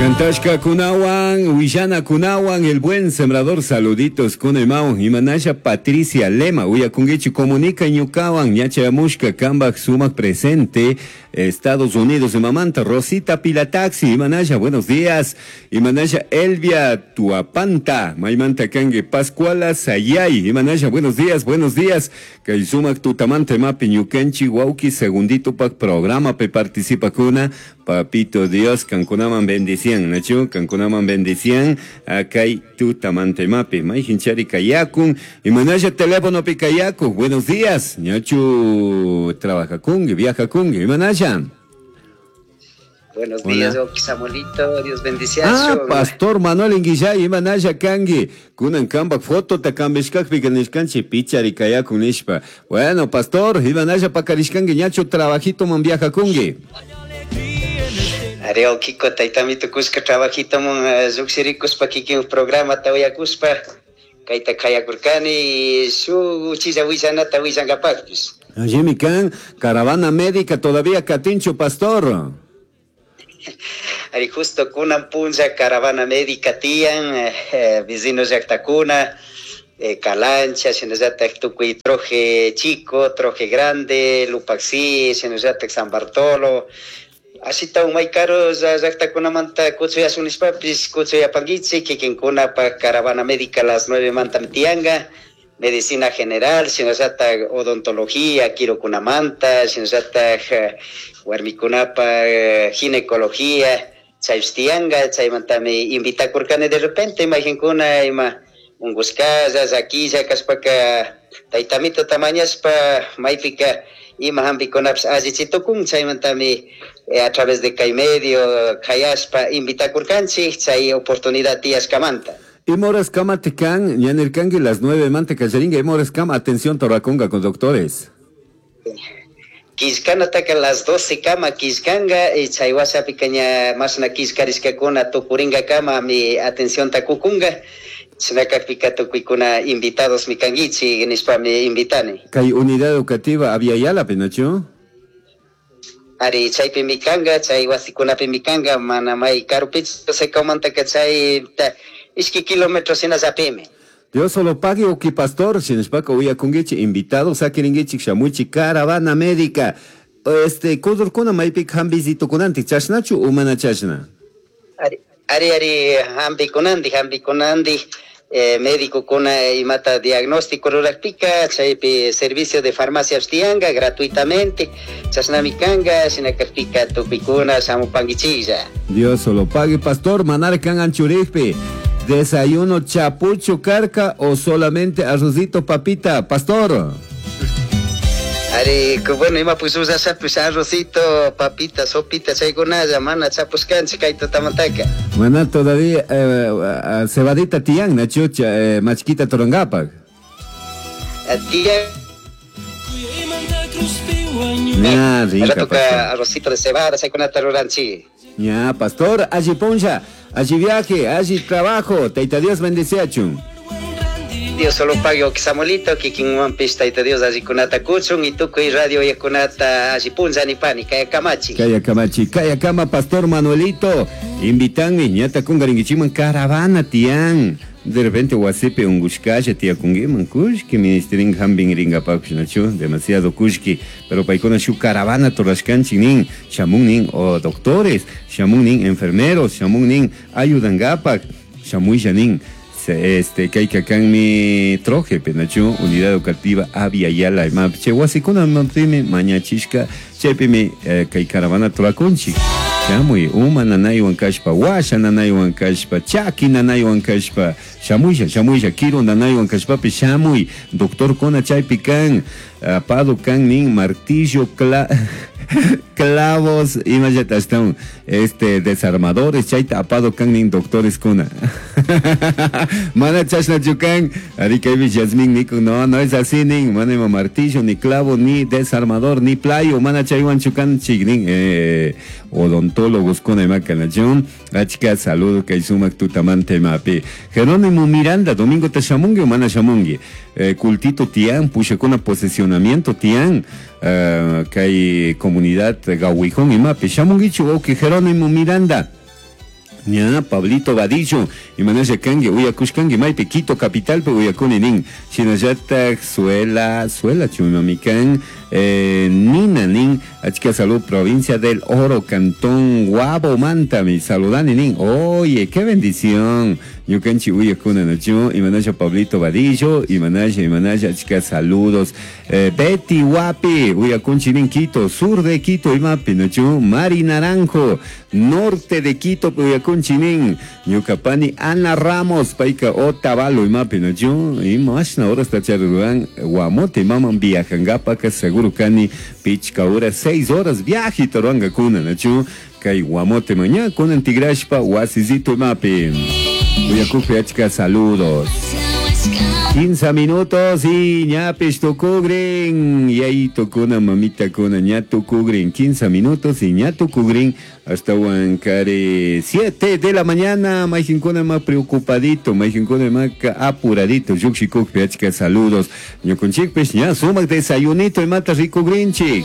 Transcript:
Kantashkakunawan, willanakunawan, el buen sembrador, saluditos kunaymawan, imanasha Patricia Lema, uyakunkichi comunica ñukawan, ñachayamushka kambaj sumak presente, Estados Unidos imamanta, Rosita Pilataxi, imanasha, buenos días, imanasha Elvia Tuapanta, maymanta kanki, Pascuala Sayay, imanasha, buenos días, buenos días, kay sumak tutamanta imapi ñukanchik wawki segundito pak programa pe participakuna, papito Dios, kankunaman bendician, nachu, kankunaman bendician, kay tutamanta imapi, mayjinchari kayakun, imanasha teléfono pi kayaku, buenos días, ñachu trabajakunki, viajakunki, imanasha. Buenos Hola. días, Oki Samuelito, Dios bendice. Ah, Pastor Manuel Inguillay, imanasha kanki, kunan kambak fotota kambishkakpi nishkanchik pichari kayakun nishpa. Bueno, Pastor, imanasha pakarishkanki, ñachu trabajito man viajakunki. Ari Okiko, taytamito kushka trabajito mon lluqshirikuspa kikin programa tawiyakuspa kayta kayakurkani shuk uchilla willanata willankapaqpis. Allimi kan, caravana médica todavía katinchu, Pastor. Ari justo kunan punlla caravana médica tiyan, vecino llaqtakuna, Calancha, shinallatak tukuy Troje Chico, Troje Grande, Lupaxi, shinallatak San Bartolo. Ashita umay karu llaqtakunamanta kutsuyasun nishpapis kutsuyapankichik kikinkunapaq caravana médica las 9 manta tiyanka, medicina general, shinallatak odontología, kirukunamanta, shinallatak warmikunapaq ginecología, chaypis tiyanka, chaymantami invitakurkani de repente imaginkuna ima unqushkalla, llakilla kashpaka taytamito tamañashpa maypika ima hampikunapish allichitukun, chaymantami a través de kay medio kayashpa invitakurkanchik chay oportunidad tiyashkamanta. Ima horas kama tikan, ñanirkanki las 9 manta kallarinka, ima horas kama atención torakunga con doctores. Killkanataka las 12 kama killkanka, y chay wasapika ña mashna killkarishkakuna tukurinka kama mi atención takukunga. Chinakakpika tukuykuna invitados mi kankichik nishpa mi invitani. Kay unidad educativa Abya Yala, nachu? Ari chaypi mi kanka, chay wasikunapi mi kanka, mana may karupichu secomantaka chay ta, ishki kilómetros hinallapimi. Dios solo pague uki pastor, shinashpaka uyakunkichik invitados sakirinkichik shamuchik caravana médica. Este, kudurkuna maypika hampishitukunantik, chashnachu o mana chashna? Ari, ari, ari, hampikunantik, hampikunantik, médicokuna imata diagnóstico rurakpika, chaypi servicio de farmacia tiyanka gratuitamente, chashnami kanka, shinakakpika tukuykuna shamupankichiklla. Dios solo pague, pastor, manar kan anchurikpi. Desayuno chapucho carca o solamente arrocito papita, pastor. Ari, bueno, ima pues usa pues arrocito, papita, sopita, chaykunalla, mana chapushkanchik kay tutamantaka. Mana todavía cebadita tiyan, nachucha machquita torongapak. Tiyan. Ña, rica, Rato pastor. arrocito de cebada, chaykunata ruranchik. Ña, pastor, allí poncha, allí viaje, allí trabajo, Taita Dios bendeciachun. Dios solo pague o Samuelito, kikinwanpis Taita Dios allí kunata kuchun y tukuy radio yakunata allí punza ni pani, kaya kamachi. Kaya kamachi, kaya kama, pastor Manuelito, invitanmi, ñata kungaringichiman caravana tian. De repente wasipi ungushkalla tiyakunkiman kushki ministerin hambin ringapakush nachu, demasiado kushki, pero paykuna shu caravana torashkanchik nin, shamun nin o doctores, shamun nin enfermeros, shamun nin ayudangapak, shamuylla nin. Este, kayka kanmi troje, penachu, unidad educativa Abya Yala, imapche, wasikuna mapimi, mañachishka, chaypimi kay caravana turakunchik. Shamuy, uma nanaywan kashpa, washa nanaywan kashpa, chaki nanaywan kashpa, shamuylla, shamuylla, kiru nanaywan kashpapi, shamuy, doctor kona chaypi kan, apado kan nin, martillo, clavos, imallata están, este, desarmadores, chayta apado kan nin, doctores kuna. Mana chashna chukan, ari kaypi Yasmin niku, no, no es así nin, mana ima martillo, ni clavo, ni desarmador, ni playo, mana chaywan chukan chignin odontólogos kuna ima kanachun, achka saludo kay sumak tutamante mapi. Jerónimo Miranda, domingo te shamungi o mana shamungi, cultito tian, pushakuna posesionamiento tian, kay comunidad gawijón imapi, shamungichu, ok, Jerónimo Miranda. Ña, Pablito Vadillo, imanasha kanki, uyakushkanki maypi Quito capitalpi uyakuni nin. Shinallatak Suela, Suela chumami kan, Nina nin, achka salud provincia del Oro, cantón Guabomantami, saludani nin. Oye, qué bendición. Ñukanchik uyakuna nachu, imanasha Pablito Vadillo, imanasha, imanasha, achka saludos. Betty Wapi, uyakunchik nin Quito, sur de Quito imapi nachu, Mari Naranjo, norte de Quito uyakunchik nin, ñuka pani Ana Ramos, payka Otavalo imapi nachu, imashna horasta charuruan Guamote imaman viajankapaka seguro kani pichka horas, 6 horas viaje ruankakuna nachu, kay Guamote maña kunan tigrashpa wasisito imapi. Uyakukpi achka saludos. 15 minutos y ñapish tukugrin. Y ahí tukuna mamita kuna ña tukugrin. 15 minutos y ña tukugrin. Hasta Huancaré 7 de la mañana. Mayjinkuna más preocupadito, mayjinkuna más apuradito. Yuxikukpi achka saludos. Ñukunchikpish ña sumak desayunito y mata rikugrinchik.